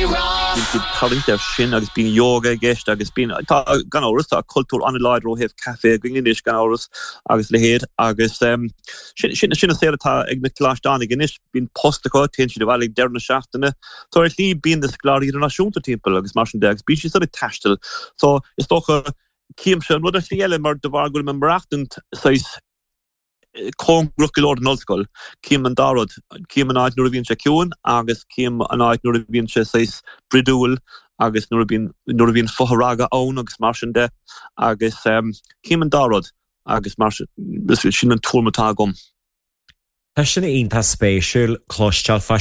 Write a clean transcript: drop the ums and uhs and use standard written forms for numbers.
Rí-Rá. Bíonn siad tarraingt air sin agus bíonn yoga i gceist agus bíonn, tá, gan amhras, tá cultúr an-láidir ó thaobh caife againn anois, gan amhras, agus a leithéid agus sin, sin, sin an saol atá ag na coláisteánaigh anois, bíonn post acu, téann siad abhaile ag deireadh na seachtaine. So ar shlí bíonn na scoláirí idirnáisiúnta timpeall agus mar sin de agus bíonn siad san ag taisteal. So is dócha, címse an rud ar shlí eile mar de bharr go bhfuil mé ag maireachtaint saghas, cóngarach go leor don ollscoil. Cím an dá rud. Cím an áit nuair a bhíonn sé ciúin agus cím an áit nuair a bhíonn sé saghas bruidiúil agus nuair a bhíonn, nuair a bhíonn fothragadh ann agus mar sin de agus cím an dá rud agus mar sin, sin an tuairim atá agam. Tá sin iontach spéisiúil cloisteáil fá.